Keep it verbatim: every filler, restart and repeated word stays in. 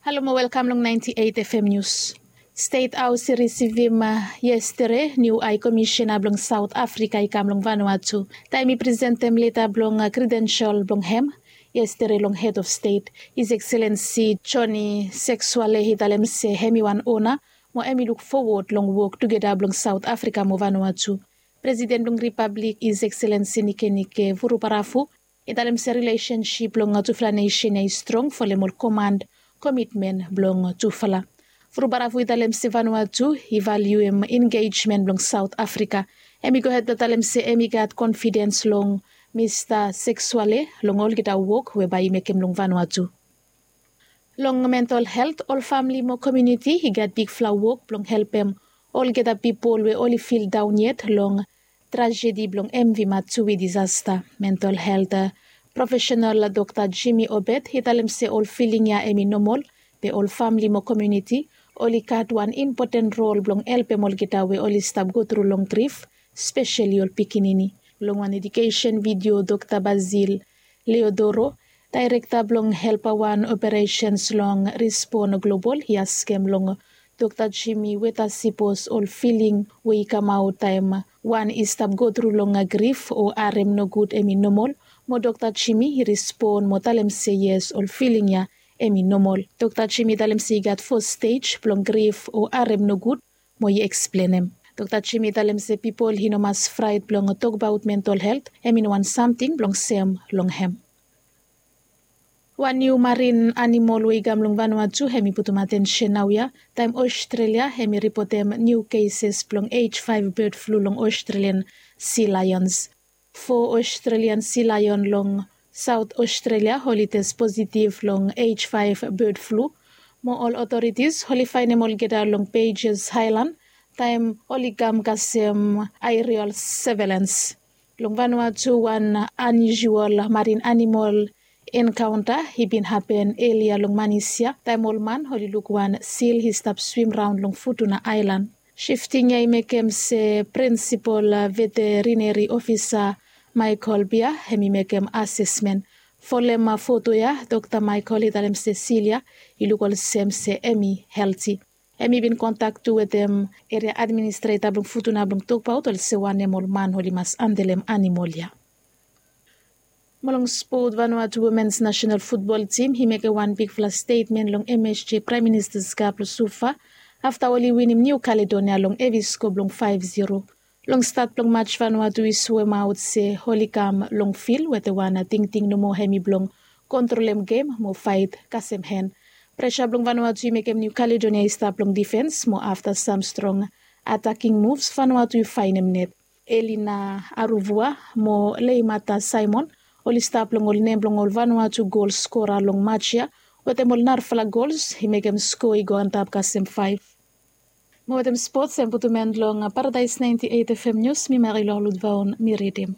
Halo mo welkam long ninety eight F M News. Stet Haos i risivim yestere niu Hai Komisena blong Saot Afrika i kam long Vanuatu taem i presentem leta blong kredensel blong hem yestere long Hed of Stet. His Ekselensi Joni Seksuale i talem se hem i wan ona mo hem i luk fowod long wok tugeta blong Saot Afrika mo Vanuatu. Presiden blong Ripablik His Ekselensi Nikenike Vurubaravu i talem se rilesensip blong tufala nesen ya i strong folem ol komand, komitmen blong tufala. Vurubaravu i talem se Vanuatu i valiuem engejmen blong Saot Afrika. Hem i gohed blong talem se hem i gat konfidens long Mista Seksuale long olgeta wok we bae i mekem long Vanuatu. Long mental helt, ol famle mo komuniti i gat bigfala wok blong helpem olgeta pipol we oli fildaon yet long trajedi blong M V Matsui disasta. Mental helt profesenal Dokta Jimmy Obed i talem se ol filing ya hem i nomol, be ol famle mo komuniti oli gat wan impoten rol blong helpem olgeta we oli stap gotru long grif, speseli ol pikinini. Long wan edukesen vidio, Dokta Basil Leodoro, daerekta blong Helpa Wan Operesens long Rispon Global, i askem long Dokta Jimmy weta sipos ol filing we i kamaot taem wan i stap gotru long grif o harem nogud hem i nomol. Mo Dokta Jimmy i rispon mo talem se yes, ol filing ya hem i nomol. Dokta Jimmy i talem se i gat fo stej blong grif o harem nogud mo i eksplenem. Dokta Jimmy i talem se pipol i no mas fraet blong tokbaot mental helt, hem i no wan samting blong sem long hem. Wan niu marin animol we i kam long Vanuatu hem i putum atensen naoia taem Ostrelia hem i ripotem niu keses blong H five bird flu long Australian sea lions. Fo Australian sea lion long Saot Ostrelia oli tes positiv long H five bird flu, mo ol otoritis oli faenem olgeta long Pages Island taem oli kam kasem aerial surveillance. Long Vanuatu wan unusual marin animol enkaonta i bin hapen elia long manis ya taem ol man oli luk wan sil i stap swim raon long Futuna Aelan. Sifting ya i mekem se prinsipol veterineri ofisa Michael Bia hem i mekem asesmen. Folem foto ya, Dokta Michael i talem se sil ya i luk olsem se hem i helti. Hem i bin kontak tu wetem eria administreta blong Futuna blong tokbaot olsem wanem ol man oli mas andelem animol ya. Mo long spot, Vanuatu womens nasenal futbol tim i mekem wan bigfala stetmen long M S G Praem Ministas Kap long Suva afta oli winim Niu Kaledonia long hevi sko blong faef ziro. Long stat blong match Vanuatu i soemaot se oli kam long fil wetem wan tingting nomo, hem i blong kontrolem gem mo faet kasem hen. Presa blong Vanuatu i mekem Niu Kaledonia i stap long difens mo afta sam strong ataking muvs Vanuatu i faenem net. Elina Aruvua mo Leimata Simon oli stap long ol nem blong ol Vanuatu gol skora long match ya wetem ol narafala gols i mekem sko i go antap kasem faef. Mo wetem spots hem putum en long Paradaes ninety eight F M Nius, mi Marilou Ludvaon mi ridim.